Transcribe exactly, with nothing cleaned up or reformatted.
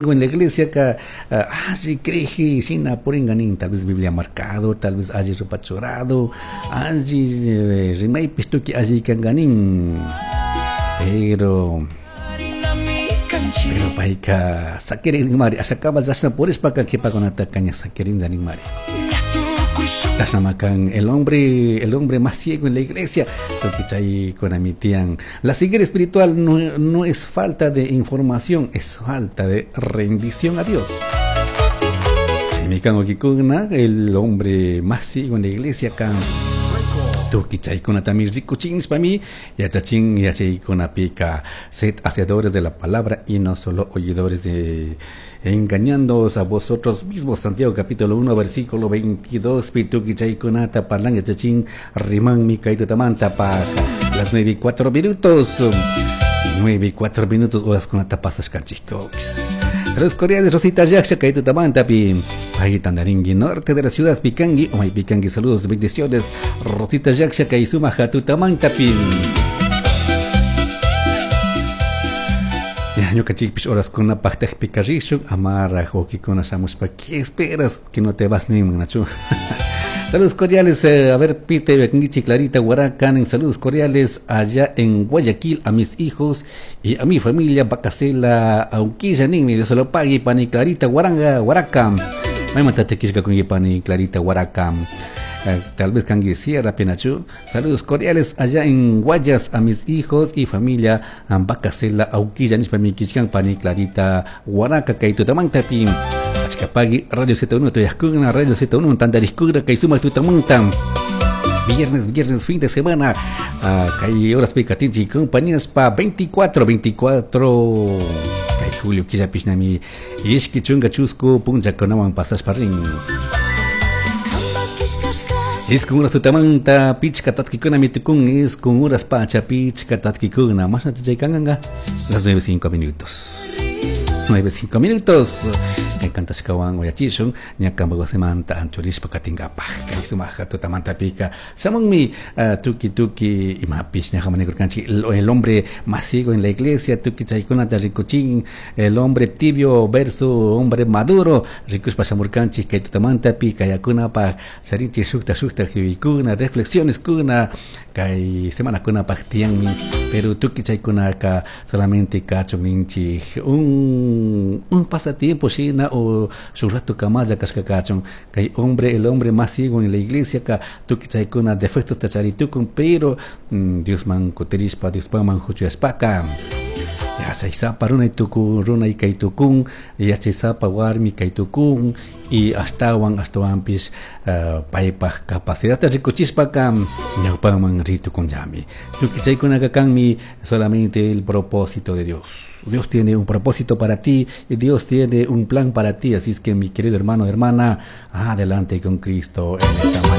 En la iglesia ka alli creji shina puringanin, tal vez Biblia marcado, tal vez alli ropa churado, alli rimaypish tukuy alli kanganin, pero pero payka sakirin mari ashakama chashna purishpaka kipakunataka ña sakirin mari. Chashnamakan el hombre el hombre más ciego en la iglesia, tukuy chaykunami tiyan. La ceguera espiritual no, no es falta de información, es falta de rendición a Dios. Chaymi kan, wawkikuna, el hombre más ciego en la iglesia kan tukuy chaykunatami rikuchinshpami yachachin. Yachaykunapika sed hacedores de la palabra y no solo oidores, de engañándoos a vosotros mismos. Santiago capítulo uno versículo veintidós pi tukuy chaykunata parlan, yachachin, rimanmi kay tutamanta pa las nueve y cuatro minutos, nueve y cuatro minutos horaskunata pasashkanchik. Saludos cordiales, Rosita Yaksha, kay tutamanta pi pay tandaringi norte de la ciudad pikangi, umay pikangi. Saludos, bendiciones, Rosita Yaksha, kay sumak tutamanta pi. Ñukanchikpish horaskuna paktakpika rishun amaraj wawkikuna shamushpa "¿Qué esperas que no te vas?" Ninman, nachu. Saludos cordiales, eh, a ver, Pite Bekingichi, Clarita Huaracan, saludos cordiales allá en Guayaquil a mis hijos y a mi familia Bacasela Auquilla ninmi. Dios lo pague, pani Clarita Huaranga Huaraca. Maymanta killkakunki, pani Clarita Huaraca? Eh, tal vez kanki Sierra Penachu. Saludos cordiales allá en Guayas a mis hijos y familia Bacasela Auquilla nishpami killkan pani Clarita Huaraca kay tutamantapi. Achka pagui Radio Z uno tuyajkuna, Radio Z uno tantariskuna kay sumak tutamanta. Viernes, viernes, fin de semana. Uh, kay horas katinchik compañías pa veinticuatro, veinticuatro. Kay julio killapishnami ishki chunka chusku punllakunawan pasashpa rin. Iskun horas tutamanta pichka tatkikunami tukun, iskun horas pacha pichka tatkikuna. Mashnata chay kanka? Las nueve cinco minutos. nueve cinco minutos. Kantashkawan uyachishun ña kampak wasimanta anchurishpa katinkapak. Kay sumak tutamantapika shamunmi uh, tuki tuki imapish ña hamanikurkanchik el, el hombre más ciego en la iglesia, tuki chaykunata rikuchin, el hombre tibio versus hombre maduro rikushpa shamurkanchik kay tutamantapi. Kayakunapaj charinchik shukta shukta yuyaykuna, reflexiones kuna kay semanakunapaj tiyanmi, pero tuki chaykunaka solamente kachun ninchik un un pasatiempo shina o shuk rato kamalla kashka kachun. Kay hombre el hombre más ciego en la iglesia ka tukuy chaykuna defecto charitukun, pero mm, Diosman kutirishpa, Diospaman huchuyashpaka yachaysapa runay tukun, runay kay tukun, yachaysapa warmi kay tukun y ashtawan ashtawanpish uh, paypaj capacidadta rikuchishpaka ñawpaman ritukunllami. Tukuy chaykunaka kanmi solamente el propósito de Dios. Dios tiene un propósito para ti y Dios tiene un plan para ti. Así es que, mi querido hermano, hermana, adelante con Cristo en esta mañana.